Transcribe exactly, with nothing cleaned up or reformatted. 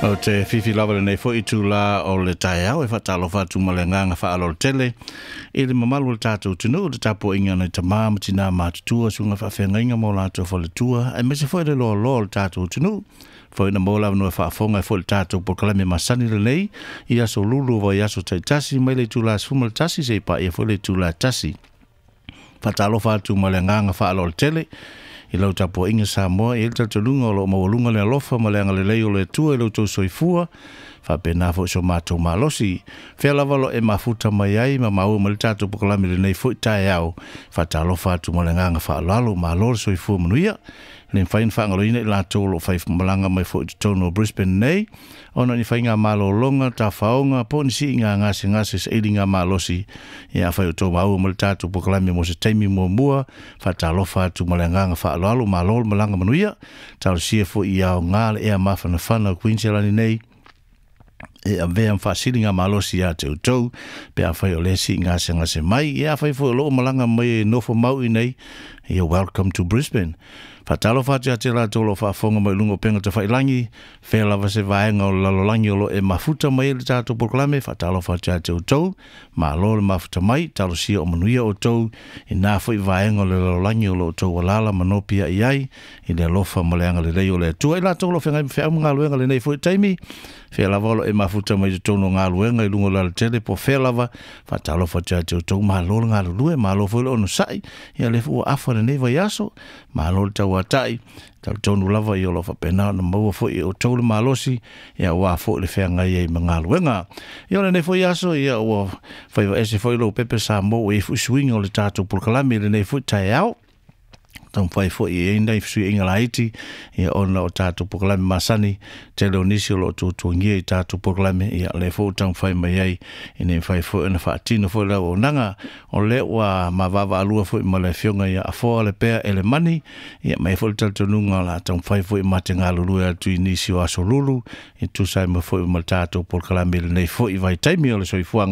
O te fifi lava lenei foi itulā o le taeao e faatalofa atu ma le agaga faaaloalo tele i le mamalu o le tatou atunuu, le tapuaiga nai tamā ma tinā matutua, susuga faafeagaiga ma o latou faletua, aemaise foi le loaloa o le tatou atunuu. Foi na maua le avanoa e faafofoga ai foi le tatou polokalame masani lenei i aso lulu o vaiaso taitasi mai le itulā sefulu ma le tasi seia paia foi le itulā e tasi. Faatalofa atu ma le agaga faaaloalo tele i lau tapuaiga Samoa, e i ai le talitonuga o lo o maualuga le alofa ma le agalelei o le Atua i lo outou soifua, faapena foi so matou malosi. Fea lava lo e mafuta mai ai ma maua mai le tatou polokalame i lenei foi taeao, faatalofa atu ma le agaga faaaloalo, malo le soifua manuia. E le mafai ona faagaloina i latou o lo o fai malaga mai foi i totonu o Brisbane nei, ona o ni faiga malologa, tafaoga, po o ni siiga gasegase sailiga malosi. Ia afai o outou maua mai le tatou polokalame mo se taimi muamua, faatalofa atu ma le agaga faaaloalo, malo le malaga manuia. Talosia foi ia aoga le ea mafanafana o Queensland nei e avea ma faasiliga malosi ia te outou, pe afai o lea sii gasegase mai. Ia afai foi o loo malaga mai e nofo mau i nei, ia welcome to Brisbane. Faatalofa atu ia te latou o lo o faafofoga mai i luga o upega tafailagi, fea lava se vaega o le lalolagi o lo o e mafuta mai ai le tatou polokalame, faatalofa atu ia te outou, malo le mafuta mai, talosia o manuia outou i na foi vaega o le lalolagi o lo o outou alaala ma nopiai ai i le alofa ma le agalelei o le Atua. I latou o lo o feagai ma feau ma galuega i lenei foi taimi, fea lava o lo o e mafuta mai i totonu o galuega i luga o le alatele po o fea lava, faatalofa atu ia te outou, malo le galulue, malo foi le onosai, ia lea foi ua afa lenei vaiaso, malo le tauatai, talitonu lava ia o lo o faapena ona maua foi e outou le malosi, ia aua foi le feagai ai ma galuega. Ia o lenei foi aso, ia ua faiva ese foi lou pepe Samoa, ua i ai foi suiga o le tatou polokalame i lenei foi taeao. Taumafai foi e i ai nai fesuiaiga laiti, ia ona o tatou polokalame masani, tele o nisi o lo o tuatuagia i tatou polokalame, ia lea foi ua taumafai mai ai ina ia mafai foi ona faatino foi le auaunaga. O lea ua mavaavaalua foi ma le afioga ia Afoa Lepea Elemani, ia ma e foi le talitonuga o le a taumafai foi ma te galulue atu i nisi o aso lulu e tusa ai ma foi ma le tatou polokalame i lenei foi vaitaimi o le soifuaga.